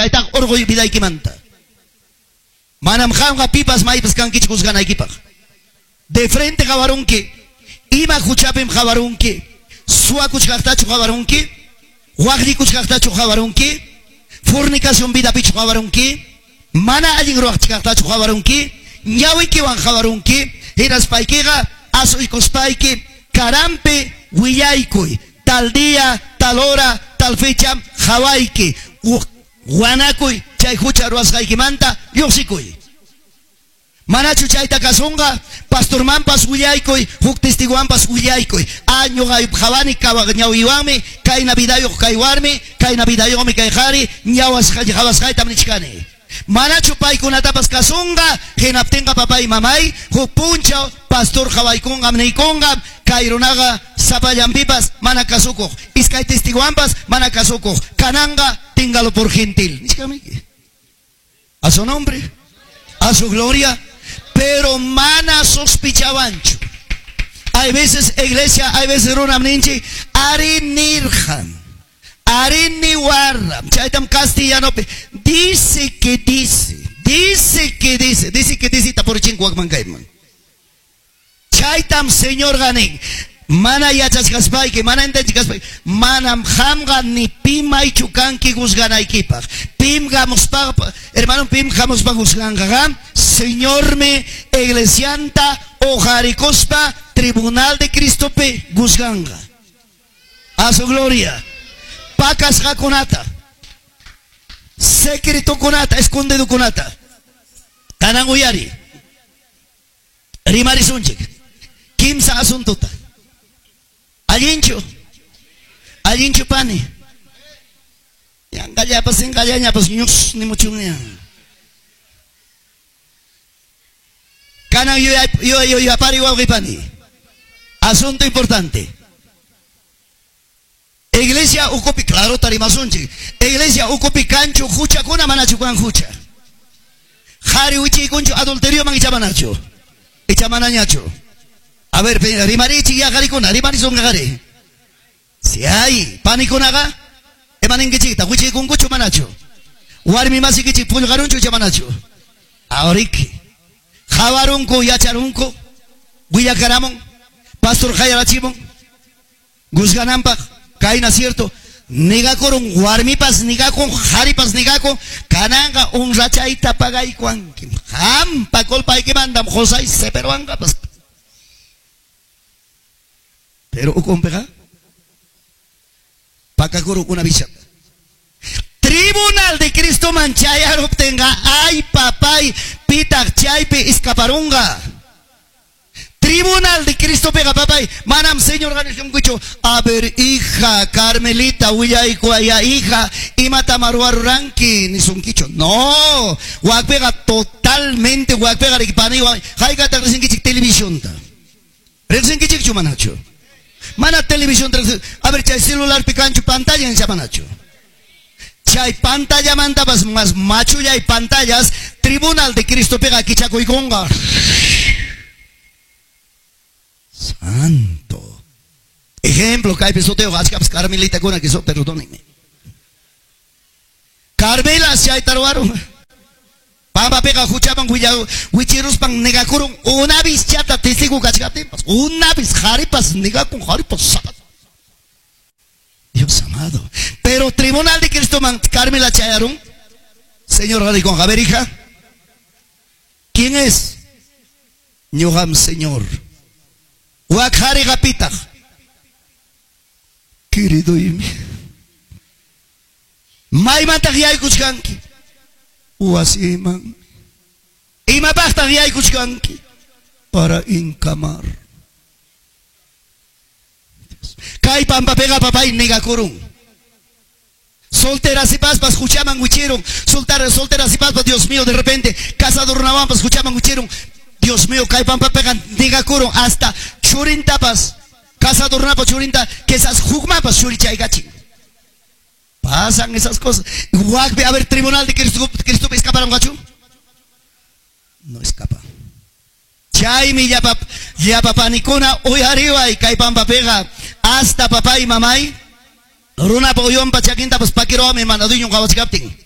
Chaytaqa urquy vidaykimanta. Manam qamqa pipas maypas kankichu juzganaykipaq. De frente qawarunki, ima huchapim qawarunki, suwakuchkaqtachu qawarunki, waqllikuchkaqtachu qawarunki, fornicación vidapichu qawarunki, mana allin ruwachkaqtachu qawarunki, ñawikiwan qawarunki, hinaspaykiqa asuykuspayki karanpi willaykuy, tal día, tal hora, tal fecha qawayki, wanakuy chay hucha ruwasqaykimanta lluqsikuy. Manachu chayta kasunqa? Pastormanpas willaykuy, huk testigowanpas willaykuy. A, ñuqa qawani ñawiywanmi, kayna vidayuq kay warmi, kayna vidayuqmi kay qari, ñawasqa qawasqaytam nichkani. Manachu paykunatapas kasunqa? Hinaptinqa papay mamay, huk punchaw pastor qawaykunqam niykunqam, kay runaqa sapallanpipas mana kasukuq, iskay testigowanpas mana kasukuq, kananqa téngalo por gentil. Nichkamiki. A su nombre, a su gloria, pero mana sospechawánchu. Hay veces iglesia, hay veces runam ninchik, ari nirqam, ari niwarram, chaytam castellanopi, dice que dice, dice que dice, dice que dice, tapurichin wakman kayman. Chaytam Señorqa nin, mana yachachkaspayki, mana entendichkaspayki, manam qamqa ni pi maychu kanki juzganaykipaq. Pim hamuspa, hermano, pim hamuspa juzganqa, Señormi iglesianta uqarikuspa tribunal de Cristopi juzganqa. A su gloria. Pakasqakunata, secretokunata, escondidokunata. Kanan uyari. Rimarisunchik. Kimsa asuntota. Allinchu. Allinchu pani. Yanqallapas sinqallañapas ñus nimuchunña. Kanan yuyapari wawqi pani. Asunto importante. Iglesia ukupi, claro tarimasunchik. Iglesia ukupi kanchu huchakuna manachu kan hucha. Qhari wichiykunchu adulterioman icha manachu. Icha manañachu. A ver, rimarichik ya qarikuna, rimarisunqa qari. Si hay panikunaqa, imaninkichikta, wichiykunkuchu manachu. Warmi masikichik pullqarunchu icha manachu. Ahoriki. Qawarunku, yacharunku, willakaramun, pastor qayarachimun, juzgananpaq, kayna cierto, negakurun warmipas negakun, qharipas negakun, kananqa honrachayta pagaykuanki. Qampa culpaykimantam qusay seperuanqapas. Pero ukunpiqa pakakurun una bishata. Tribunal de Cristoman chayaruptinqa, ay papay, pitaq chaypi escaparunqa. Tribunal de Cristo pega papay, manam Señor ganishunkuchu. A ver, hija, Carmelita, willaykuaya, hija, imata maruaruranki, nisunkichu. No, wakpega totalmente, wakpega rikpani, haykata risinkichik televisionta. Risinkichikchu manachu. Mana televisión, a ver, chay celular picanchu pantalla en manachu. Chay pantalla mantapas más machulla y pantallas, Tribunal de Cristo pega kichakuykunqa. Santo. Ejemplo, kaypi sutiyuq achkapas Carmelitakuna que perdónenme. Carmela chayta ruwarun. Pampapiqa huchaman wichiruspan negakurun una vez chata testigo kachkaptinpas, una vez qharipas negakun, qharipas sapat. Dios amado. Pero Tribunal de Cristo man Carmela chayarun. Señor dijo, a ver, hija, ¿quién es? Ñuqam Señor. Wak qhariqa pitaq. Querido imi. Maymantaq yaykuchkanki? Wasiman. Imapaqtaq yaykuchkanki? Para encamar. Kay pampapiqa papay negakurun. Solteras y paspas huchaman wichirun. Solteras y paspas, Dios mío, de repente casado runawanpas huchaman wichirun. Dios mío, kay pampapiqa negakurun hasta churintapas, casado runapa churinta, que esas hukmapas churichaykachin. Pasan esas cosas. Wakpi, a ver, tribunal de Cristo, Cristo escaparon gachu? No escapa. Chaymi llapa panikuna uyariway kay pampapiqa hasta papá y mamay runapa uyunpa chakintapas pakiruwami mana dueñon qawachkaptin.